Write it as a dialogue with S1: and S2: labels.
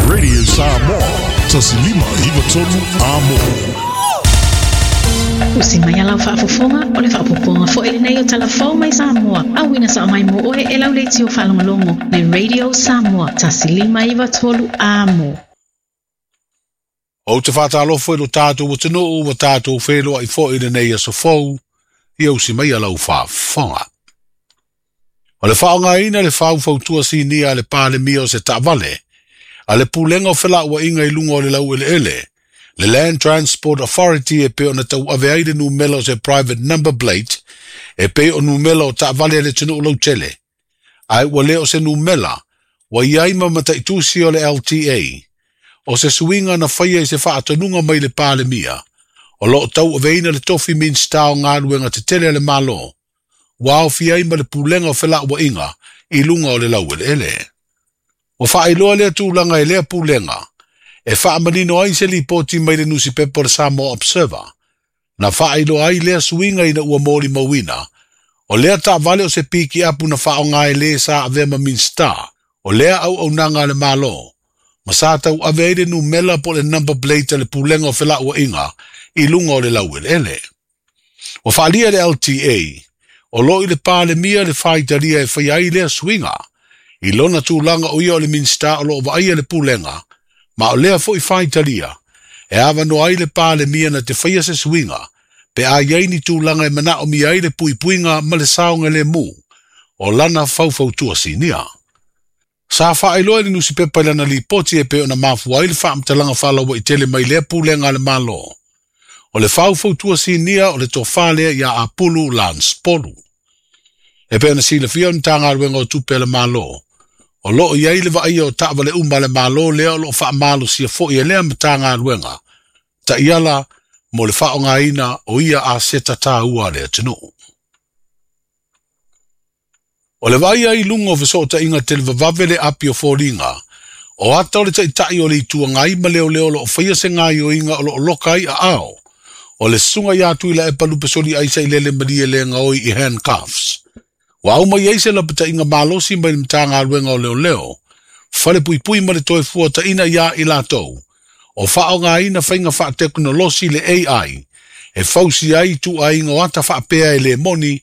S1: Radio Samoa, 1593 Amo.
S2: Usi mai a lau faafofoga, o le faaopoopoga foi lenei o Tala Fou mai Samoa, auina sao mai mo oe e lau leitio faalogologo le Radio Samoa 1593 Amo.
S3: Ou te faatalofa i lo tatou atunuu ua tatou feiloai foi i lenei aso fou, ia usi mai a lau faafofoga. O le faaaogaina le faufautua sinia a le Palemia o se taavale a le Pulega o Felauaiga i luga o le laueleele, le Land Transport Authority e pei ona tauave ai le numela o se private number plate e pei o numela o taavale a le atunuu lautele, ae ua le o se numela ua i ai ma mataitusi o le LTA. O se suiga na faia i se faatonuga mai le Palemia, o lo o tauaveina le tofi Minisita o Galuega Tetele a le Malo, ua aofia ai ma le Pulega o Felauaiga i luga o le laueleele. Ua faailoa lea tulaga e lea pulega e faamanino ai se lipoti mai le nusipepa o le Samoa Observer. Na faailoa ai lea suiga ina ua molimauina, o lea taavale o se pikiapu na faaaoga e le sa avea ma Minisita o lea auaunaga a le Malo, ma sa tauave ai le numela po o le number plate a le Pulega o Felauaiga i luga o le laueleele. Ua faaalia e le LTA, o lo o i le Palemia le faitalia e faia ai lea suiga, i lona tulaga o ia o le Minisita o lo o vaaia le Pulega, ma o lea foi faitalia, e avanoa ai le Palemia na te faia se suiga, pe a i ai ni tulaga e manaomia ai le puipuiga ma le saogalemu o lana faufautua sinia. Sa faailoa e le nusipepa i lana lipoti e pei ona mafua ai le faamatalaga faalauaitele mai lea Pulega a le Malo. O le faufautua sinia o le tofa lea ia Apulu Lance Polu. E pei ona silafia o le Matagaluega o Tupe a le Malo, o lo o i ai le vaaia o taavale uma a le Malo lea o lo o faamalosia foi e lea Matagaluega taiala mo le faaaogaina o ia aseta taua a le atunuu. O le vaaia i luga o fesootaiga televavave le api o foliga, o ata o le Taitai o le Itu Agai ma leoleo o lo o faia se gaoioiga o lo o loka ai aao o le susuga ia Tuilaepa Lupesoli Sailele Malielegaoi i handcuffs. Ua au mai ai se lapataiga malosi mai le Matagaluega o Leoleo, Falepuipui ma le Toefuataiga ia i latou, o faaaogaina faiga faatekonolosi le AI e fausia ai ituaiga o ata faapea e le moni.